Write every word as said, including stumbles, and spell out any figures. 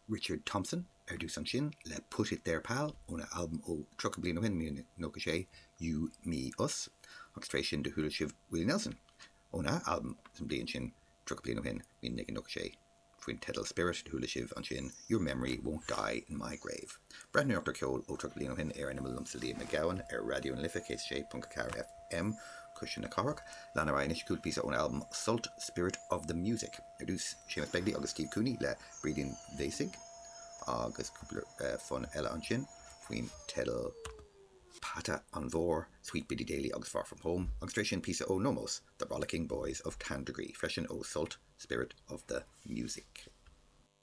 Richard Thompson ar dtús ansin le Put It There Pal óna albam ó tríocha bliain ó shin míle nócha sé You Me Us agus tar éis sin do chuala sibh Willie Nelson óna albam san bliain sin tríocha bliain ó shin míle naoi nócha sé faoin teideal Spirit do chuala sibh ansin Your Memory Won't Die in My Grave. Breathnóireacht ar cheol ó tríocha bliain ó shin ar an imeall liomsa Liam Mac Gabhann ar Raidió na Life céad sé ponc ceathair FM Cuisle na Cathrach, lean ar anois cúpla píosa ón albam Sult Spirit of the Music. Ar dtús Séamus Begley agus Steve Cooney le Brídín Bhéasaigh agus cúpla uh, fonn eile ansin faoin teideal Pata an Mhór, Sweet Biddy Daly agus Far From Home, agus tar éis sin píosa ó Nomos, The Rollicking Boys of Tandragee, freisin ó Sult Spirit of the Music.